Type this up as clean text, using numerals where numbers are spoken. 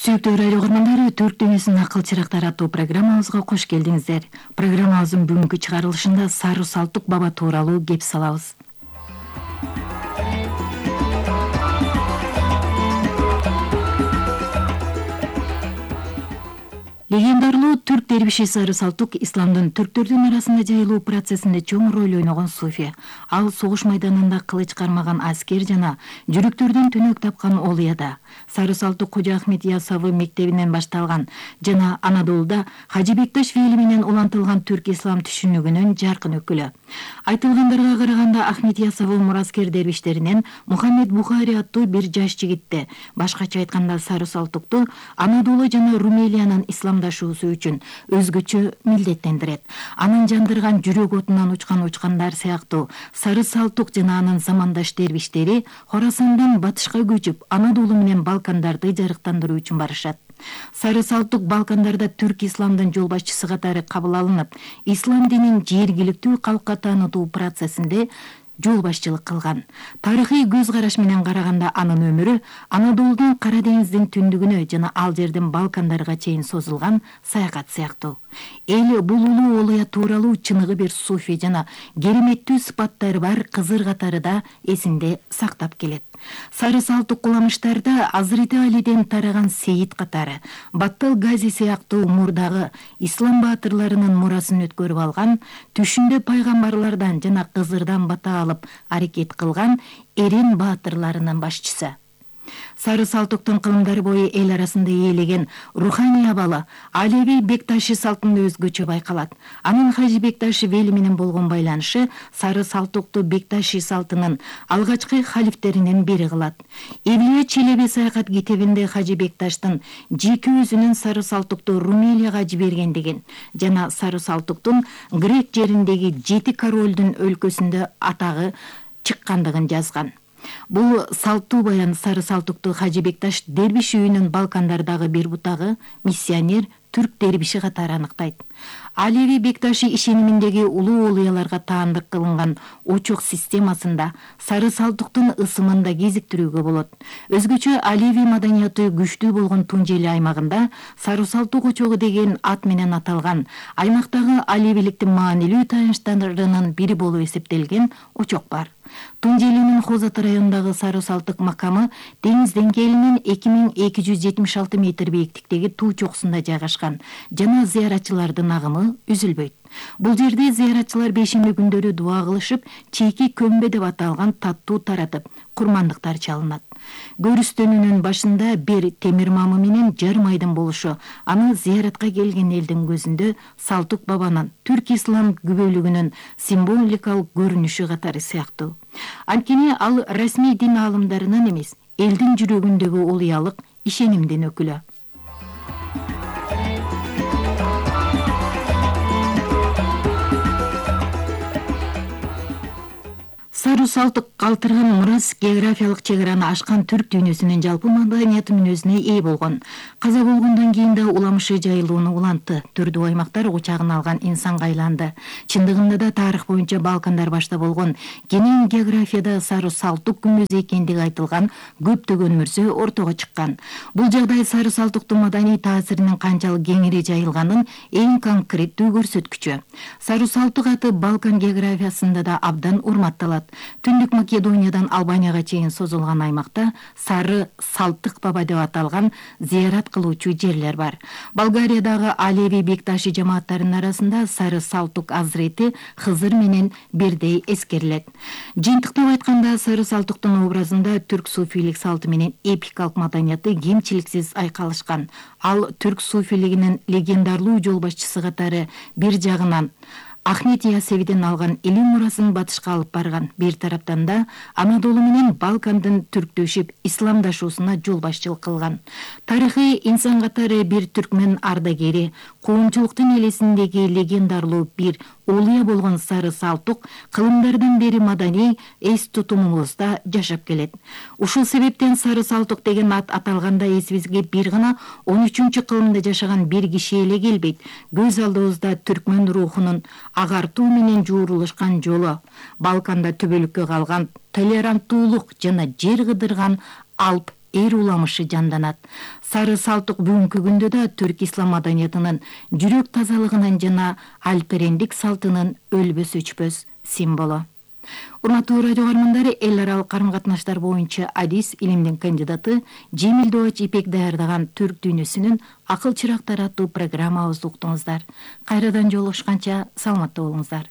Сүйүктүү радио көрөрмандары, Түрк дүйнөсүнүн акыл чырактары аттуу программабызга кош келдиңиздер. Программабыздын бүгүнкү чыгарылышында Сары Салтык баба тууралуу кеп салабыз. Легендарлуу түрк дербиши Сары Салтык исламдын түрктөрдүн арасында жайылуу процессинде чоң роль ойногон суфи. Ал согуш майданында кылыч кармаган аскер жана жүрөктөрдөн түнөк тапкан олуяда. Сары Салтык Кожо Ахмет Ясауи мектебинен башталган жана Анадолуда Хажы Бекташ фейли менен улантылган түрк ислам түшүнүгүнүн жаркын өкүлү. Айтылгандарга караганда Ахмет Ясауи мураскер дербиштеринен Мухаммед Бухари аттуу бир жаш жигитти, башкача айтканда Сары Салтыкту Анадолу жана Румелиянын исламдашуусу үчүн өзгөчө милдеттендирет. Анын жандырган жүрөк отунан учкандар сыяктуу Сары Салтык жана анын замандаш дербиштери Хорасандан батышка көчүп, Анадолу менен Балкандарды жарыктандыруу үчүн барышат. Сары Салтык Балкандарда түрк исламдын жол башчысы катары кабыл алынып, ислам динин жергиликтүү калкка таанытуу процессинде жол башчылык кылган. Тарыхый көз караш менен караганда анын өмүрү Анадолудун Кара деңиздин түндүгүнө жана ал жерден Балкандарга чейин созулган саякат сыяктуу. Эл бул улуу олуя тууралуу чыныгы бир суфи жана кереметтүү сыпаттары бар кызыр катары да эсинде сактап келет. Сары Салтык куламыштарда Азырыты Алиден тараган Сейит катары, Баттал Гази сыяктуу мурдагы ислам баатырларынын мурасын өткөрүп алган, түшүндө пайгамбарлардан жана кызырдан бата алып аракет кылган эрен баатырларынын башчысы. Сары Салтыктын кылымдары бою эл арасында ээлеген руханий абалы Алеви Бекташи салтында өзгөчө байкалат. Анын Хажы Бекташи вели менен болгон байланышы Сары Салтыкту Бекташи салтынын алгачкы халифтеринен бири кылат. Эвлия Челеби саякат китебинде Хажы Бекташтын жеке өзүнүн Сары Салтыкту Румелияга жибергендигин жана Сары Салтыктун Грек жериндеги 7 королдун өлкөсүндө атагы чыккандыгын жазган. Бул салттуу баян Сары Салтыкту Хажы Бекташ дербиш үйүнүн Балкандардагы бир бутагы миссионер түрк дербиши катары аныктайт. Алеви Бекташи ишениминдеги улуу олуяларга таандык кылынган очок системасында Сары Салтыктын ысымын да кезиктирүүгө болот. Өзгөчө Алеви маданияты күчтүү болгон Тунжели аймагында Сары Салтык очогу деген ат менен аталган аймактагы алевиликтин маанилүү таянычтарынын бири болуп эсептелген очок бар. Тунжелинин Хозат районундагы Сары Салтык макамы деңиз деңгээлинен 2276 метр бийиктиктеги туу чокусунда жайгашкан жана зыяратчылардын агымы үзүлбөйт. Бул жерде зыяратчылар бейшемби күндөрү дуа кылышып, чейки көмбө деп аталган таттуу таратып, курмандыктар чалынат. Көрүстөнүнүн башында бир темир мамы менен жарым айдын болушу аны зыяратка келген элдин көзүндө Салтык бабанын түрк ислам күбөлүгүнүн символикалык көрүнүшү катары сыяктуу. Анткени ал расмий дин аалымдарынан эмес, элдин жүрөгүндөгү олуялык ишенимдин өкүлү. Сары Салтык калтырган мурас географиялык чек араны ашкан түрк дүйнөсүнүн жалпы маданияты мүнөзүнө ээ болгон. Каза болгондон кийин да уламышы жайылууну улантты. Түрдүү аймактар учагын алган инсанга айланды. Чындыгында да тарых боюнча Балкандар башта болгон кенен географияда Сары Салтык күмбөзү экендиги айтылган көптөгөн мөрсө ортого чыккан. Бул жагдай Сары Салтыктын маданий таасиринин канчалык кеңири жайылганын эң конкреттүү көрсөткүчү. Сары Салтык аты Балкан географиясында да абдан урматталат. Түндүк Македониядан Албанияга чейин созулган аймакта Сары Салтык баба деп аталган зыярат кылуучу жерлер бар. Болгариядагы Алеви Бекташи жамааттарынын арасында Сары Салтык Азырети Хызыр менен бирдей эскерилет. Жыйынтыктап айтканда, Сары Салтыктын образында түрк суфийлик салты менен эпикалык маданияты кемчиликсиз айкалышкан. Ал түрк суфилигинин легендарлуу жол башчысы катары бир жагынан Ахмет Ясевиден алган илим мурасын батышка алып барган. Бир тараптан да Анадолу менен Балкандын түрктөшүп исламдашуусуна жол башчылык кылган. Тарыхый инсан катары бир түркмен ардагери, коомчулуктун элесиндеги легендарлуу бир олуя болгон Сары Салтык кылымдардан бери маданий эс тутумубузда жашап келет. Ушул себептен Сары Салтык деген ат аталганда эсибизге бир гана 13-кылымда жашаган бир киши эле келбейт. Көз алдыбызда түркмен рухунун агартуу менен жуурулушкан жолу, Балканда төбөлүккө калган толеранттуулук жана жер кыдырган Алп эр уламышы жанданат. Сары салттык бүгүнкү күндө да түрк ислам маданиятынын жүрөк тазалыгынын жана алперендик салтынын өлбөс өчпөс символу. Урматтуу радио көрөрмандар, эл аралык карым-катнаштар боюнча адис илимдин кандидаты Жемил Дооч Ипек даярдаган түрк дүйнөсүнүн акыл чырактары аттуу программабызды уктуңуздар. Кайрадан жолугушканча саламатта болуңуздар.